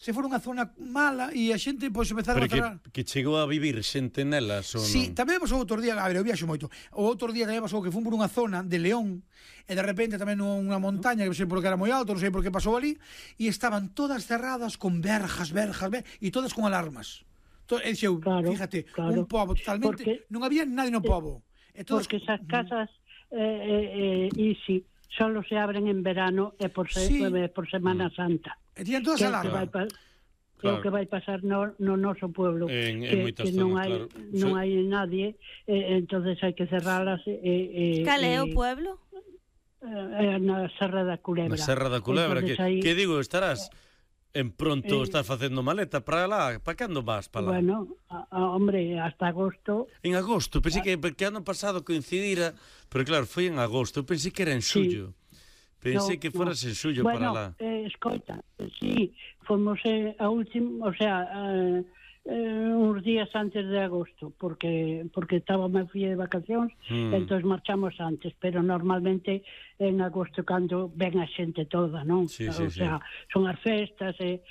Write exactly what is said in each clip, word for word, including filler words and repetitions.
se for unha zona mala e a xente pois empezar a cerrar. Que, que chegou a vivir xente nelas ou non? Sí, tamén pasou outro día, a ver, eu viaxo moito. O outro día tamén pasou que fun por unha zona de León e de repente tamén nunha montaña, que non sei por que era moi alto, non sei por que pasou ali, e estaban todas cerradas con verjas, verjas, verjas e todas con alarmas. E dixeu, claro, fíjate, claro, un pobo totalmente, porque, non había nadie no pobo. E todas, porque esas casas eh, eh, eh, Easy solo se abren en verano e por, se, sí. por Semana Santa. E tiñan todas alarmas. Que é o que vai pasar no, no noso pueblo, en, que, en que non zonas, hai claro. non hai nadie, eh, entonces hai que cerralas. Eh, eh, Cal é o pueblo? Eh, na Serra da Culebra. Na Serra da Culebra, que, aí... que digo, estarás en pronto, eh, estás facendo maleta para lá, para cando vas para lá? Bueno, a, a, hombre, hasta agosto. En agosto, pensei que, que ano pasado coincidira, pero claro, foi en agosto, pensei que era en xullo. Sí. Pensei no, que foras no. en xullo bueno, para lá. Eh, escoita, sí, fomos eh, a último, o sea, eh, eh, uns días antes de agosto, porque porque estaba máis fría de vacacións, mm. entón marchamos antes, pero normalmente en agosto cando ven a xente toda, non? Sí, o sí, sea, sí. son as festas, é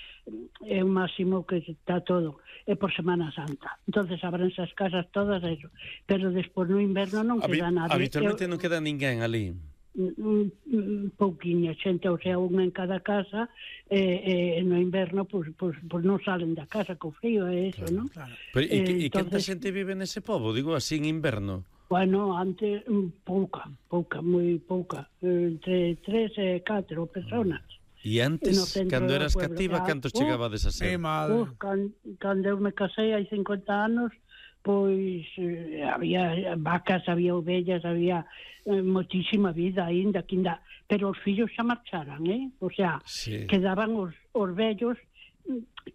eh, o máximo que está todo, é por Semana Santa. Entonces abrense as casas todas, eso. Pero despois no inverno non queda nada. Habitualmente Eu, non queda ninguén ali. Un, un pouquiña xente, o sea, unha en cada casa, e eh, eh, no inverno pois pues, pues, pues non salen da casa co frío, é eso, claro, non? Claro. Pero e, eh, e canta xente vive nese pobo, digo así en inverno? Bueno, antes pouca, pouca, moi pouca, entre tres e catro personas. E antes, no cando eras cativa, cantos uh, chegabades a ser? Uh, can, cando eu me casei hai cincuenta anos, pois eh, había vacas, había ovellas, había eh, moitísima vida aínda, que ainda, pero os fillos xa marcharan, eh? O sea, sí. quedaban os, os vellos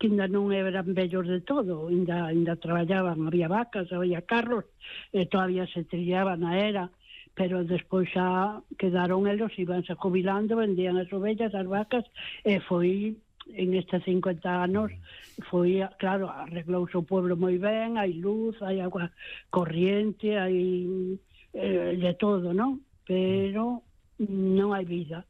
que ainda non eran vellos de todo, ainda, ainda traballaban, había vacas, había carros, e todavía se trillaban a era, pero despois xa quedaron elos, ibanse jubilando, vendían as ovellas, as vacas, e foi... en estes cincuenta anos foi, claro, arreglouse o pueblo moi ben, hai luz, hai agua corriente, hai eh, de todo, non? Pero non hai vida.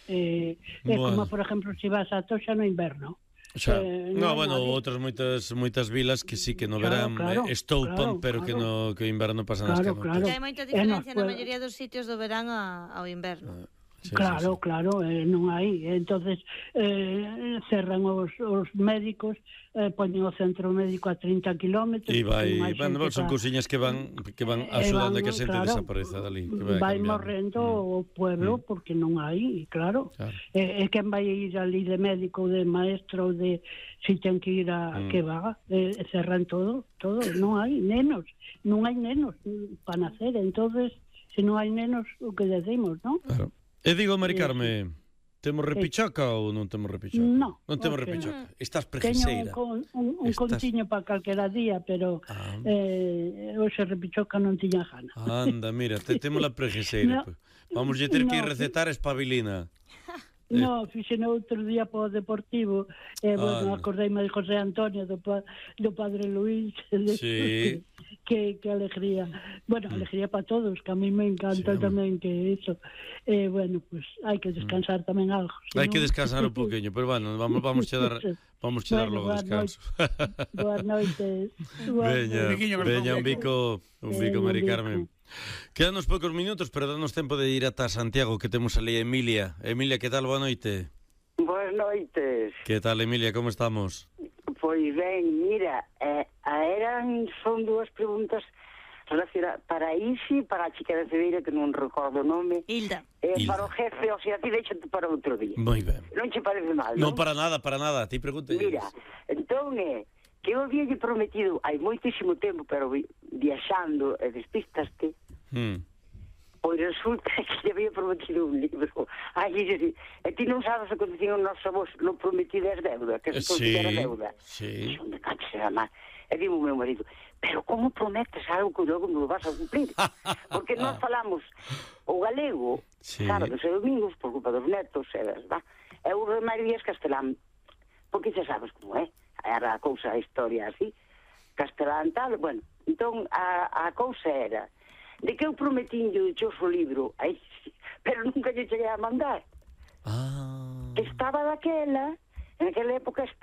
Eh, é bueno. Como, por exemplo, se vas a Toxa no inverno. Xa. Eh, no, bueno, outras moitas moitas vilas que sí que no verán claro, claro, estoupan, claro, pero claro. que no que o inverno pasan claro, as claro. Que hai moita diferencia na maioría dos sitios do verán a, ao inverno. Ah. Sí, claro, sí, sí. claro, eh, non hai. Entonces eh, cerran os, os médicos, eh, poñen o centro médico a trinta kilómetros. E vai, bueno, son cousiñas que van que van axudando a que a xente claro, desapareza dali. Que vai vai morrendo mm. o pueblo mm. porque non hai, claro. claro. E eh, quen vai ir ali de médico, de maestro, de si ten que ir a mm. que va, eh, cerran todo, todo, non hai nenos, non hai nenos para nacer, entonces se non hai nenos, o que decimos, non? Claro. E digo, Mari Carme, temos repichaca ou non temos repichaca? No. Non temos okay. repichaca. Estás preguiseira. Teño un, un, un Estás... contiño para calquera día, pero ah. eh, hoxe repichaca non tiña gana. Anda, mira, te temos la preguiseira. No. Vamos a ter no. que recetar espabilina. No, fixen outro día para o Deportivo, e, eh, bueno, acordeime de José Antonio, do, pa, do Padre Luís, sí. que, que alegría. Bueno, mm. alegría para todos, que a mí me encanta sí, tamén que eso. Eh, bueno, pues hai que descansar mm. tamén algo. Hai que descansar un poquinho, pero bueno, vamos vamos a dar vamos a dar bueno, logo descanso. Boas noites. Veña, veña un bico, un bico, Mari Carmen. Quedanos poucos minutos, pero danos tempo de ir ata Santiago, que temos ali a Emilia. Emilia, que tal? Boa noite. Boas noites. Que tal, Emilia? Como estamos? Pois ben, mira, eh, eran son dúas preguntas relacionadas para Isi, para a chica de Cedeira, que non recordo o nome. Hilda. Eh, Hilda. Para o jefe, o sea, ti deixate para outro día. Moi ben. Non che parece mal, non? Non, para nada, para nada. Ti pregunte. Mira, entón é... Eh, que eu había prometido hai moitísimo tempo, pero viaxando e despistaste, mm. pois resulta que lle había prometido un libro. Ai, e, e ti non sabes o que dicían os nosos avós, non prometido é deuda, que se considera sí, deuda. Sí. E onde cacho será máis? E dimo o meu marido, pero como prometes algo que logo non lo vas a cumplir? Porque nós falamos o galego, sí. sábados e domingos, por culpa dos netos, e, va, e o demais días castelán, porque xa sabes como é. Era a cousa, a historia así, castelán tal, bueno, entón a, a cousa era de que eu prometín yo o libro, aí, pero nunca lle cheguei a mandar. Ah. Estaba daquela En aquela época